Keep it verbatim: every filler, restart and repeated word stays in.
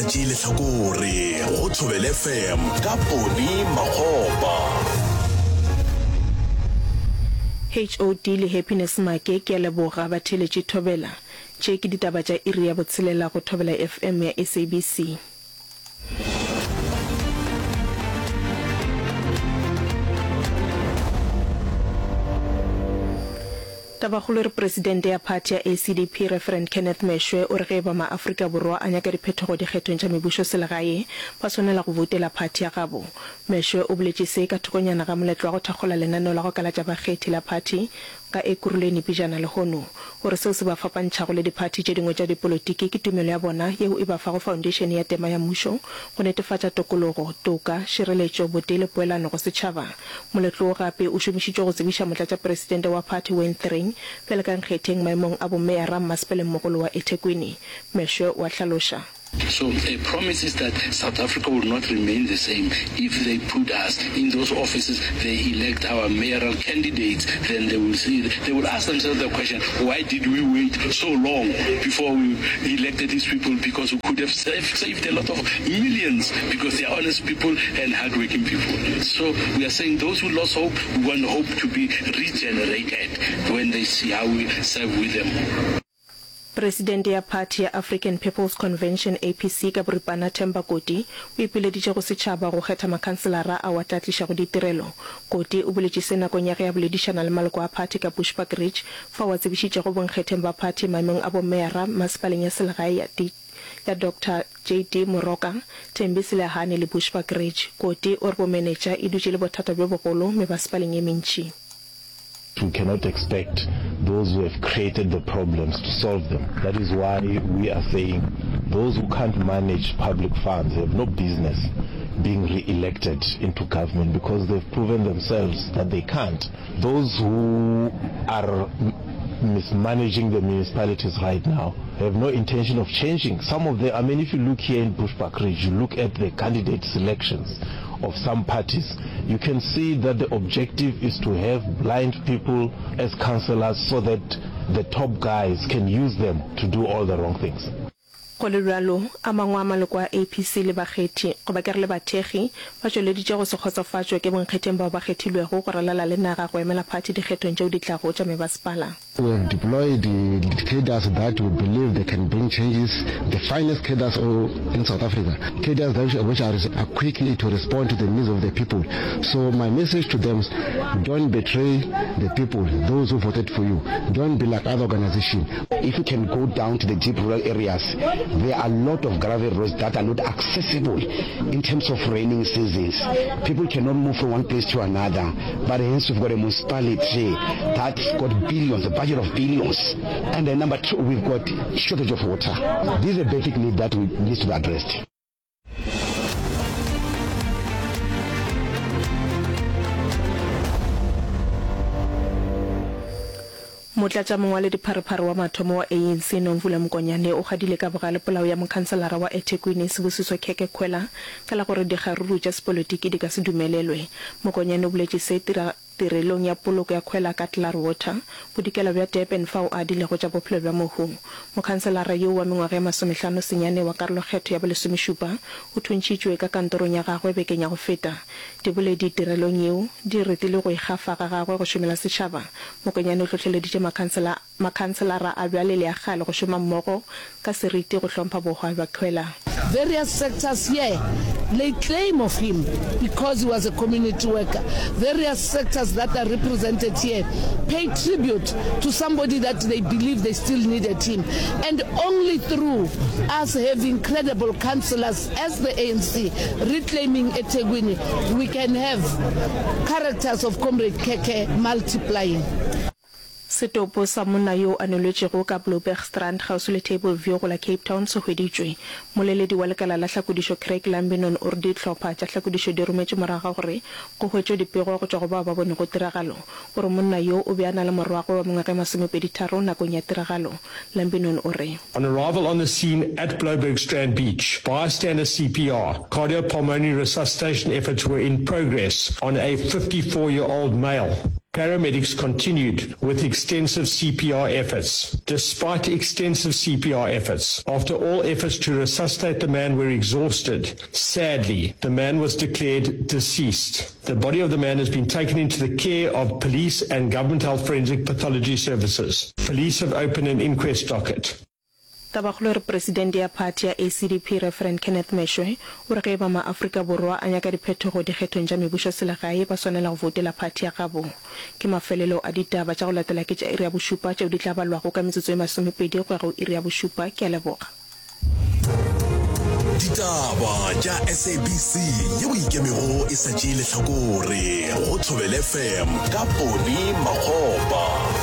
Tšee lehlakore go Thobela FM ka Poni Makgopa. HOD le Happiness Make ke a leboga batheeletši Thobela. Tše ke ditaba tša iri ya botshelela go Thobela FM ya SABC. Tabakgolo e re Presidente ya phathi ya ACDP Referend Kenneth Meshoe o re ge eba maAfrika Borwa a nyaka diphetogo dikgethong tša mebušo selegae ba swanela go boutela phathi ya gabo. Meshoe o boletše se ka thokonyana ga moletlo wa go thakgola lenaneo la go kalatša bakgethi la phathi ka Ekurhuleni pejana lehono. O re seo se ba fapantšhago le diphathi tše dingwe tša dipolotiki ke tumelo ya bona yeo e ba fago foundation ya tema ya mmušo go netefatša tokologo, toka, šireletšo, botee le poelano go setšhaba. Moletlo wo gape o šomišitšwe go tsebiša motlatšapresidente wa phathi Wayne Thring bjale ka nkgetheng maemong a bomeyara mmasepalengmogolo wa eThekwini. Meshoe o a hlaloša. So a promise is that South Africa will not remain the same if they put us in those offices, they elect our mayoral candidates, then they will see, they will ask themselves the question, why did we wait so long before we elected these people because we could have saved, saved a lot of millions because they are honest people and hardworking people. So we are saying those who lost hope, we want hope to be regenerated when they see how we serve with them. Presidente ya phathi ya African People's Convention, APC, ka boripana Themba Koti o ipileditše go setšhaba go kgetha makhanselara ao a tla tlišago ditirelo. Koti o boletše se nakong ya ge a boledišana le maloko a phathi ka Bushbuckridge fao a tsebišitšego bonkgetheng ba phathi maemong a bomeyara masepaleng ya selegae ya ya Doctor JD Moroka, Thembi Selehane le Bushbuckridge. Koti o re bomenetša e dutše e le bothata bjo bogolo mebasepaleng ye mentši. We cannot expect those who have created the problems to solve them. That is why we are saying those who can't manage public funds have no business being re-elected into government because they've proven themselves that they can't. Those who are mismanaging the municipalities right now have no intention of changing. Some of them, I mean, if you look here in Bushbuckridge, you look at the candidate selections of some parties, you can see that the objective is to have blind people as councillors so that the top guys can use them to do all the wrong things. Go le bjalo, a mangwe a maloko a APC le bakgethi, goba ke re le bathekgi, ba tšweleditše go se kgotsofatšwe ke bonkgetheng bao ba kgethilwego go ralala le naga go emela phathi dikgethong tšeo di tlago tša mebasepala. We have deployed cadres that we believe they can bring changes, the finest cadres in South Africa, cadres that which are, are quickly to respond to the needs of the people. So my message to them is don't betray the people, those who voted for you. Don't be like other organizations. If you can go down to the deep rural areas, there are a lot of gravel roads that are not accessible in terms of raining seasons. People cannot move from one place to another. But hence we've got a municipality that's got billions, a budget of billions. And then number two, we've got shortage of water. This is a basic need that we, needs to be addressed. Motlatšamongwaledipharephare wa mathomo wa ANC Nomvula Mokonyane o kgadile ka bogale polao ya mokhanselara wa eThekwini Sibusiso Khekhe Khwela ka la gore dikgaruru tša sepolotiki di ka se dumelelwe. Mokonyane o boletše se tirelong ya poloko ya Khwela ka Klaarwater, bodikela bja Durban fao a adilego tša bophelo bja mohu. Mokhanselara yoo wa mengwaga ye masomehlano senyane wa karolokgetho ya bolesomešupa o thuntšhitšwe ka kantorong ya gagwe bekeng ya go feta. Diboledi tirelong yeo di retile go ikgafa ga gagwe go šomela setšhaba. Mokonyane o hlohleleditše makhansela, makhanselara a bjale le a kgale go šoma mmogo ka seriti go hlompha bohwa bja Khwela. Various sectors here lay claim of him because he was a community worker. Various sectors that are represented here pay tribute to somebody that they believe they still needed him. And only through us having credible councillors as the ANC reclaiming eThekwini, we can have characters of Comrade Khekhe multiplying. Setopo sa monna yo a nwelwetšego ka Bloubergstrand kgauswi le Table View go la Cape Town se hweditšwe. Mmoleledi wa lekala la hlakodišo Craig Lambinon o re dihlopha tša hlakodišo di rometšwe morago ga gore go hwetšwe dipego go tšwa go bao ba bonego tiragalo gore monna yo o be a na le morwagwe wa mengwaga e masomepedi-tharo nakong ya tiragalo. Lambinon o re. On arrival on the scene at Bloubergstrand Beach, bystander CPR, cardiopulmonary resuscitation efforts were in progress on a fifty four year old male. Paramedics continued with extensive CPR efforts. Despite extensive CPR efforts, after all efforts to resuscitate the man were exhausted, sadly, the man was declared deceased. The body of the man has been taken into the care of police and government health forensic pathology services. Police have opened an inquest docket. Tabakgolo e re Presidente ya phathi ya ACDP Reverend Kenneth Meshoe o re ge e ba maAfrika Borwa a nyaka diphetogo dikgethong tša mebušoselegae ba swanela go voutela phathi ya gabo. Ke mafelelo a ditaba tša go latela ke tša iri ya bošupa tšeo di tla balwago ka metsotso e masomepedi go ya go iri ya bošupa. Ke a leboga. Ditaba tša SABC yeo e ikemego e sa tšee lehlakore go Thobela FM ka Poni Makgopa.